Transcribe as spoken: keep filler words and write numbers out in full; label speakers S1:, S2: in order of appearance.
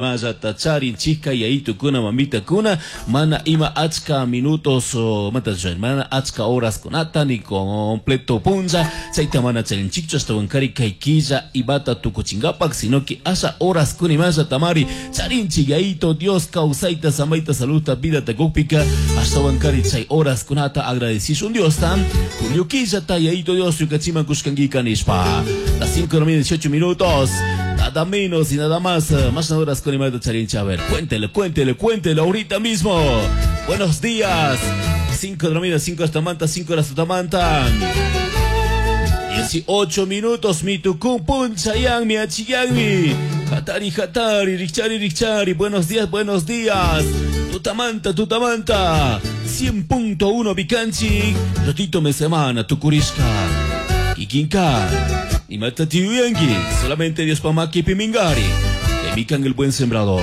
S1: Maya chica yayitukuna mamitakuna mana ima achka minutos mana achka horas kunata ni completo punlla chayta mana charinchikchu ashtawankari kay killa imata tukuchinkapak sino que asha horas kunimalla tamari charinchik yayito Dios kawsayta samayta saludta vidata kukpika ashtawankari chay horas kunata agradecishun Diosta julio killata yayito Dios ñukachiman kushkankika nishpa. Las cinco de la mañana, dieciocho minutos, nada menos y nada más, más horas con charincha. A ver, cuéntele, cuéntele, cuéntele ahorita mismo. Buenos días. cinco de la mañana, cinco hasta manta, cinco horas hasta manta. dieciocho minutos, mi tucum punchayang, mi achiyangmi. Hatari, hatari, richari, richari. Buenos días, buenos días. Tutamanta, tutamanta. cien punto uno Bicanchi. Rotito me semana, tucurishka. Kikinka. Y matatiyuyangi. Solamente Dios pamaki pimingari. Mikan el buen sembrador.